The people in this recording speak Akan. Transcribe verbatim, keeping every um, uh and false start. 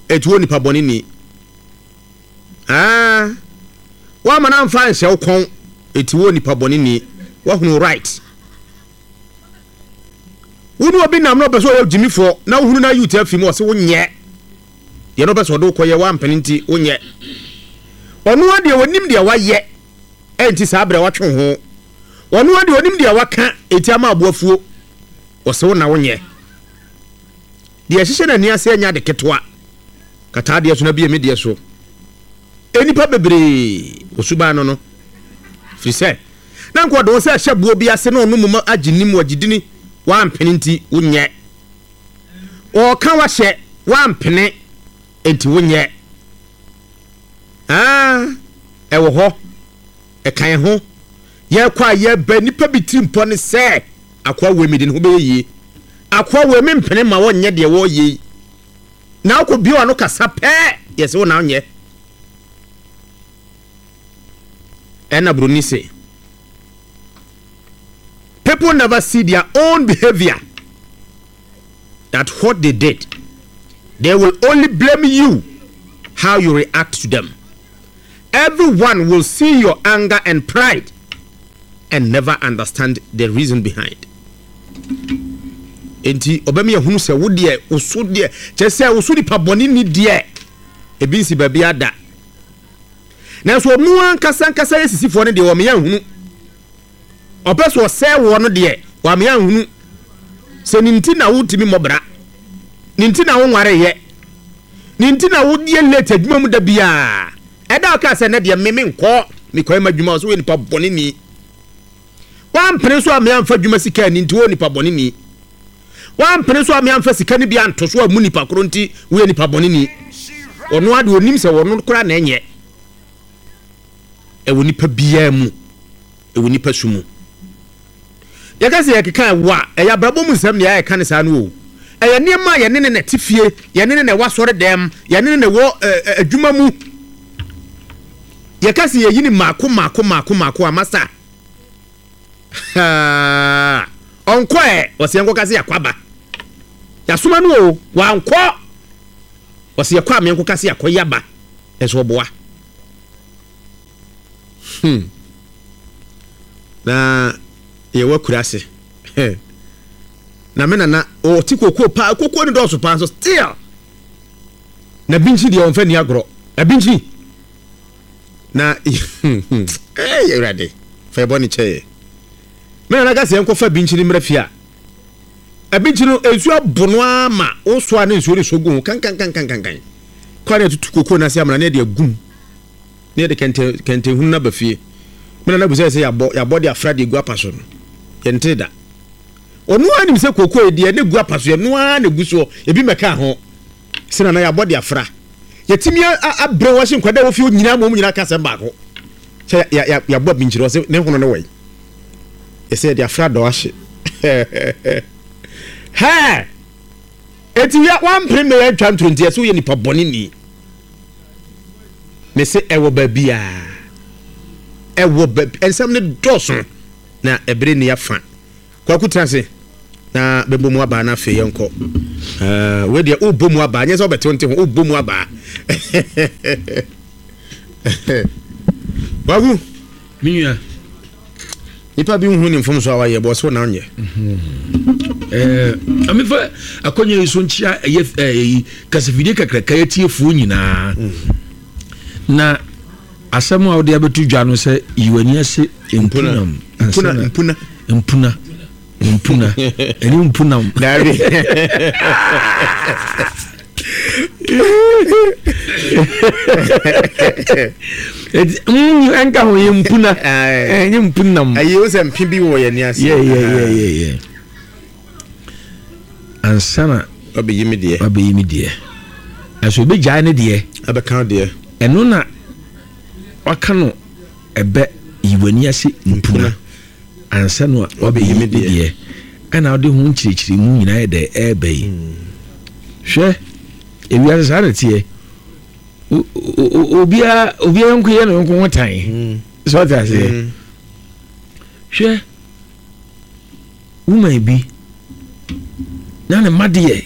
Eti wo nipa bɔne ni. Ah, woama no amfa nhyɛ wo kɔn, eti wo nipa bɔne ni. Woahunu right. Wo ne obi nam na ɔpɛ sɛ ɔyɛ gyimifoɔ na wohunu na youth afi mu, ɔsɛ wonyɛ deɛ na ɔpɛ sɛ ɔde wokɔyɛ, woampene nti wonyɛ. Ɔno a deɛ wɔnim deɛ wayɛ, ɛnti saa berɛ watwe ho. Ɔno a deɛ ɔnim deɛ waka, ɛti ama aboafuo, ɔsɛ wo na wonyɛ deɛ ɛhyehyɛ n'ani ase. Anya de ketewa kataa deɛ so na bie me deɛ so. Nnipa bebree osuban no no firi sɛ na nka ɔde wo sɛ ɛhyɛ boɔ bi ase na ɔno mu agye nim wagye dini, wampene nti wonyɛ. Ɔɔka wahyɛ, wampene nti wonyɛ. Aa, ɛwɔ hɔ, ɛka yɛn ho. Yɛkɔ a yɛba, nipa bi tiri mpɔ ne sɛ akoa wei mi de ne ho bɛyɛ yie, akoa wei mi mpene ma wɔnyɛ deɛ wɔreyɛ yi, na akɔ bio ano kasa pɛɛ, yɛsɛ wo na wonyɛ. Ɛna buroni se people never see their own behavior, that what they did. They will only blame you how you react to them. Everyone will see your anger and pride and never understand the reason behind. Nti ɔbɛmi ehunu sɛ wo deɛ, woso deɛ kyerɛ sɛ woso nipa bɔne ni deɛ ebi nsi baabi ada, nanso ɔno ankasa ankasa yɛ sisifoɔ no deɛ, wɔn yɛ nhunu. Ɔpɛ so ɔsɛɛ wɔ no deɛ, wɔn yɛ nhunu sɛ ne nti na wotumi mmɔbra, ne nti na wonware yɛ, ne nti na wodie late adwuma mu da biara. Ɛda ɔka sɛ ne deɛ meme nkɔ mekɔɛ ma adwuma, so woyɛ nipa bɔne ni. Wampene so a meamfa adwuma sika ani nti woyɛ nipa bɔne ni. Wampene so a meamfa sika no bi anto so a mu nipa koro nti woyɛ nipa bɔne ni. Ɔno ade onim sɛ wɔno koraa na ɛnyɛ. Ɛwɔ nipa biara mu, ɛwɔ nipa su mu. Yɛka sɛ yɛkeka ɛwɔ a, ɛyɛ abrabɔ mu nsɛm deɛ yɛka ne saa no o. Ɛyɛ nneɛma a yɛne ne na ɛte fie, yɛne ne na ɛwɔ asɔre dɛm, yɛne ne na ɛwɔ adwuma mu. Yɛka sɛ yɛyi ne maako maako maako maako a, masa ɔnkɔ ɛ. Ɔsɛ yɛnkɔka sɛ yɛakɔ aba, yɛasoma no o, wankɔ. Ɔsɛ yɛkɔ a meɛnkɔka sɛ yɛakɔ yaba, ɛnso ɔboa. hmm. Na yɛwɔ akura ase na me nana ɔte kokoo paa. Kokoo no dɔɔso paa nso still na binkyi deɛ ɔmfa ni agorɔ. Na binkyi na ɛyɛ Awurade fa yɛbɔ ne kyɛɛ. Me nana ka sɛ yɛnkɔfa binkyi no mmerɛ fie a, abinkyi no nsuo abo no ama wosoa ne nsuo no so gu ho kankankankankan kɔ ne atutu kokoo no ase amena ne yɛde agum ne yɛde kɛntɛn kɛntɛn hunu no aba fie. Me nana busa sɛ yɛabɔ yɛabɔ de afra de egu apa so no, yɛnte da. Ɔno ara nim sɛ kokoo yi deɛ ne gu apa so, yɛno ara na egu soɔ, ebi mmɛka ho sɛ nana yɛabɔ de afra. Yɛtumi abrɛ wɔn ahye nkwadaa wɔ fie nyinaa ma wɔn nyinaa ka asɛm baako sɛ yɛabɔ abinkyerɛ. Ɔsɛ ne hono ne wɔyi yɛsɛ yɛde afra dɔ ahye hɛɛ. Eti ya wampere mmɛ yɛntwa ntoro nti yɛsɛ woyɛ nipa bɔne ni. Me se ɛwɔ baabiaa, ɛwɔ baabi. Nsɛm no dɔɔso na ɛbere ni afa. Kwaku, tena ase na bɛbɔ mu abaa na afei yɛnkɔ. uh, wei deɛ wobɔ mu abaa, nyɛ sɛ wobɛte wo nte ho, wobɔ mu abaa. Kwaku. Me nua. Nipa bi nhu ne mfomso a wayɛ bɔ so na onyɛ. Ɛɛ amefa akɔnya yi so nkyia ɛyɛ ɛyi kasafidie kakraka yɛtiefoɔ nyinaa. Na asɛm a wode abɛto dwa no sɛ yiwani ase mpunam. Mpuna, mpuna. Mpuna, mpuna, ɛne mpunam. Dabi. Ɛnka ho yɛ mpuna, ɛnyɛ mpunam. Ɛyi o sɛ mpe bi wɔ yɛn ni ase. Yɛ yɛ yɛ yɛ yɛ ansa na wabɛyi mi deɛ. Wabɛyi mi deɛ, ɛso obɛgyae ne deɛ. Abɛka deɛ. Ɛno na waka no ɛbɛ yiwani ase mpuna ansa na wabɛyi mi deɛ, ɛna wode ho nkyerɛkyerɛmu nyinaa yɛ dɛ ɛɛbɛ yi. Hwɛ, ewiase saa na teɛ. Obiara obiara nko yɛ ne nko ho tan sɛ ɔte aseɛ. Hwɛ, woman bi na ne mma deɛ